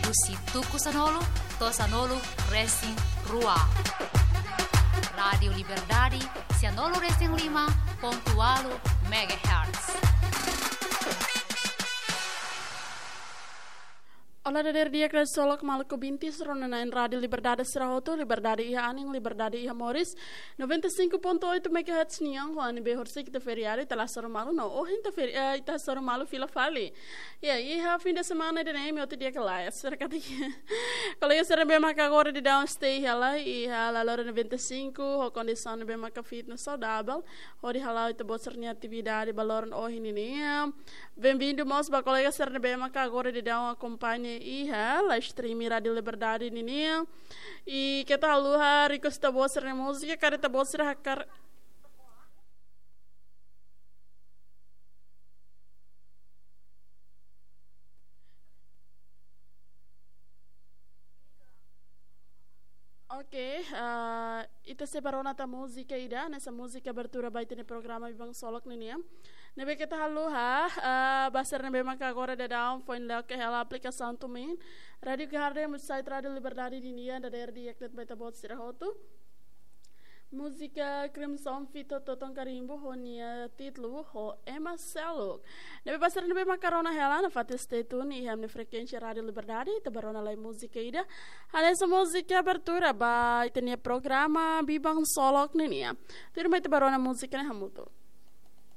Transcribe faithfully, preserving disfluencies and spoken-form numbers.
Husi tuku sanulu to'o sanulu resin rua. Rádiu Liberdade, sanulu resin lima pontu ualu megahertz. Olá, dadeer di'ak, ksolok maluk ouvinte sira-nia na'in Rádiu Liberdade sira hotu, Liberdade iha anin, Liberdade iha moris, noventa e cinco ponto oito megahertz nian, ho ami-nia horisehik ita feriadu, ita la hasoru malu, no ohin ita feri-, eh, ita hasoru malu fila fali. Ya, iha fim de semana ida-ne'e imi hotu di'ak ka lae, será que tem? Kolega sira ne'ebé maka agora daudaun stay hela, iha laloran noventa e cinco, ho kondisaun ne'ebé maka fit no saudavel, hodi hala'o ita-boot sira-nia atividade ba loron ohin nian. Bem-vindo mós ba kolega sira ne'ebé maka agora daudaun akompaña iha live stream Rádiu Liberdade nian. I keta haluha request ita-boot sira-nia múzika, karik ita-boot sira hakarak. Oke, eh, ita sei bá rona tan múzika ida, hanesan múzika abertura ba ita-nia programa Biban Ksolok nian. Ne'ebé keta haluha, eh, ba sira ne'ebé maka agora daudaun foin loke hela aplikasaun TuneIn, Rádiu Garden, website Rádiu Liberdade nian, dadeer di'ak de'it ba ita-boot sira hotu. Múzika Crimson feat Toton Karimbo ho nia títulu ho Ema Seluk. Ne'ebé ba sira ne'ebé maka rona hela nafatin stay tune iha ami-nia frekuénsia Rádiu Liberdade, ita bá rona lai múzika ida, hanesan múzika abertura ba ita-nia programa Biban Ksolok nian. Tuirmai ita bá rona múzika ne'e hamutuk.